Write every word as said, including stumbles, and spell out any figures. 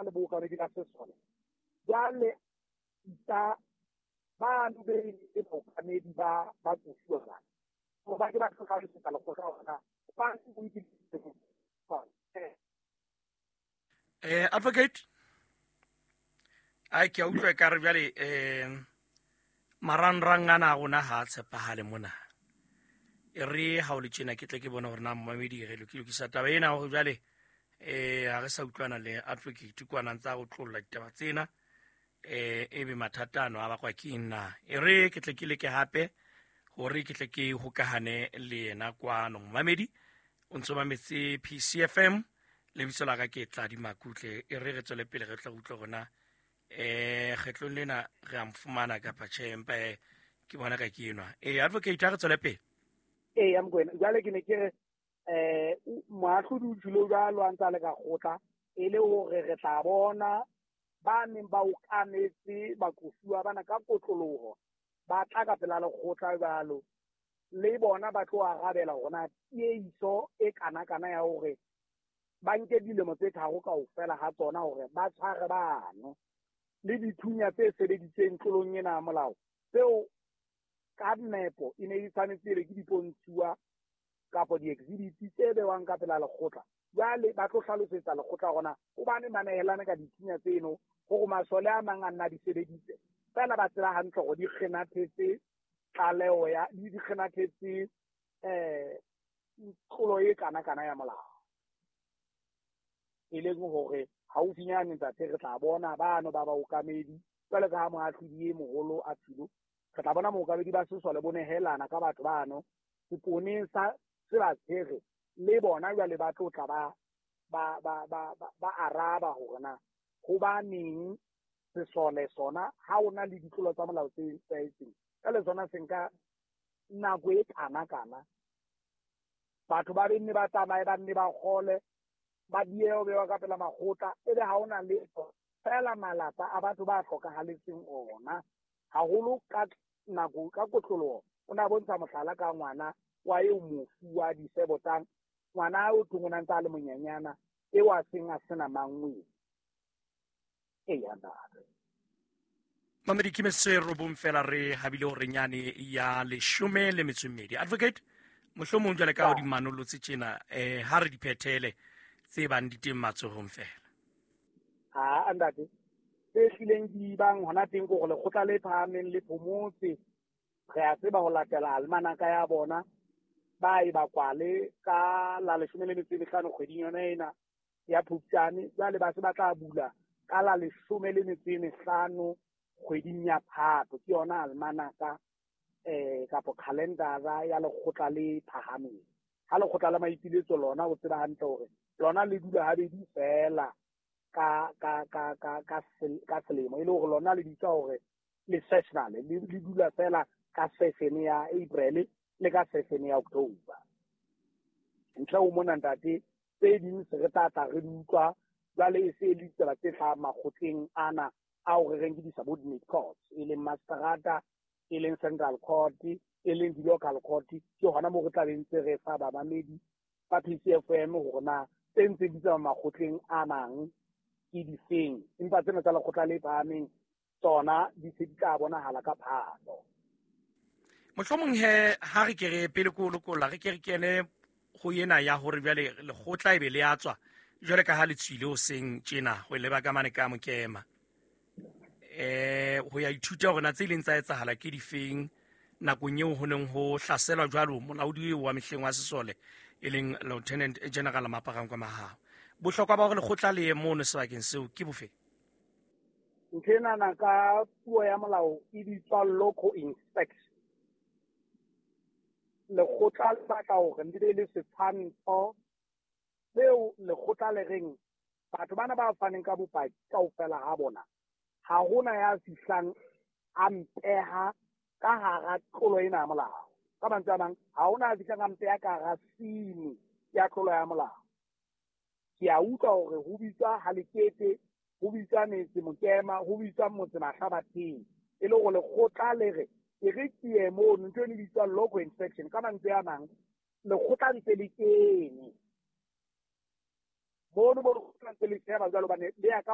le bookamedi ba sesole jwale isa bano be le baokamedi ba ba qosuwa bana hore ba ke ba tlo hlalosetsa lekgotla hore na ba eh advocate ai ke a utlwa ekare jwale um marangrang ana a rona ha a tshepahale mona. E re ha o le tjena ke tle ke bone hore na momamedi re lokisa taba ena hore jwale eh ha re sa utlwana le advocate kwana ntsa go tlolla ditaba tsena eh ebe mathata ano a bakwa ke eng na. E re ke tle ke leke hape hore ke tle ke hokahane le yena kwano. Momamedi o ntso mametse P C F M, lebitso la ka ke Tladi Makutle. E re re tswele pele re tla utlwa rona eh kgetlong lena re a mo fumana kapa tjhe, empa ke bona ka ke enwa. Eh advocate, a re tswele pele. Ee ya Mokoena, jwale ke ne ke re eh moahlodi o tjhilo jwalo a ntse a le ka kgotla, e le hore re tla bona ba neng ba okametse baqosuwa bana ka kotloloho ba tla ka pela lekgotla jwalo, le bona ba tlo arabela hore na tieiso e kana-kana ya hore ba nke dilemo tse tharo kaofela ha tsona hore ba tshware bano le dithunya tse sebeditseng tlolong ena ya molao tseo ka nepo e ne e tshwanetse e be ke dipontshuwa kapa di-exhibit tse bewang ka pela lekgotla. Jwale ba tlo hlalosetsa lekgotla hore na hobane ba nehelane ka dithunya tseno hore masole a mang a nna di sebeditse fela ba tseba hantle hore di kgenathetse tlaleho ya di kgenathetse eh tlolo e kana-kana ya molao, e leng hore haufinyane ntate re tla bona bano ba baokamedi jwale ka ha moahlodi e moholo a tshilo, re tla bona mookamedi ba sesole bo nehelana ka batho bano seponeng sa se ba tshwere, le bona jwale ba tlo tla ba ba ba ba ba araba hore na hobaneng sesole sona ha o na le ditlolo tsa molao tse etsahetseng ka le sona se nka nako e kana-kana batho ba benne ba tsamaye ba nne ba kgole ba diehe ho bewa ka pela makgotla, ebe ha ona letho fela malapa a batho ba hlokahaletseng ona haholo ka nako ka kotloloho. O na bontsha mohlala ka ngwana wa eo mofu wa disebotang, ngwana o thong o na ntse a le monyenyana eo a seng a sena mangwe. Eya ntate. Mamedi ke metsotso e robong fela re habile hore nyane ya leshome le metso e mmedi. Advocate, mohlomong jwale ka o di manolotse tjena eh ha re di phethele tse bang di teng matsohong fela. Ha ntate, tse hlileng di bang hona teng ke hore lekgotla le phahameng le phomotse, re a tseba ho latela almanaka ya bona ba e ba kwale ka la leshome le metso e mehlano kgweding yona ena ya Phupjane, jwale ba se ba tla bula ka la leshome le metso e mehlano kgweding ya Phato. Ke yona almanaka eh kapo calendara ya lekgotla le phahameng. Ha lekgotla la maipiletso lona o tseba hantle hore lona le dula habedi fela ka ka ka ka ka ka selemo, e le hore lona le bitsa hore le sessional, le le dula fela ka session ya April le ka session ya October. Ntle ho mona ntate, tse ding se re tla tla re di utlwa jwale e se e le ditsela tse hlahang makgotleng ana ao re reng ke di-subordinate courts, e leng mastrata, e leng central court, e leng di-local court. Ke hona moo re tla be ntse re fa bamamedi ba P C F M hore na tse ntse di tsamaya makgotleng a mang ke difeng, empa tsena tsa lekgotla le phahameng tsona di se di tla bonahala ka Phato. Mohlomong he ha re ke re pele ko lokolla re ke re kene ho ena ya hore jwale lekgotla ebe le a tswa jwale ka ha le tswile hoseng tjena ho leba ka mane ka Mokema eh ho ya ithuta hore na tse ileng tsa etsahala ke difeng nakong eo ho neng ho hlaselwa jwalo molaodi wa mehleng wa sesole e leng Lieutenant General Maaparankoe Mahao. Bohlokwa ba hore lekgotla le ye mono sebakeng seo ke bofe? Ntho enana ka puo ya molao e bitswa local inspection. Lekgotla le batla hore le be le setshwantsho seo lekgotla le reng batho bana ba faneng ka bopaki kaofela ha bona ha hona ya fihlang a mpeha ka hara tlolo ena ya molao. Ka mantswe a mang, ha hona ya fihlang a mpeha ka hara sini ya tlolo ya molao. Ke a utlwa hore ho bitswa Halekete, ho bitswa metse Mokema, ho bitswa motse Mahlabatheng, e le hore lekgotla le re e re ke ye mono, ntho eno e bitswa local inspection. Ka mantswe a mang, lekgotla ntse le kene mono, mo lekgotla ntse le sheba jwalo hobane le ya ka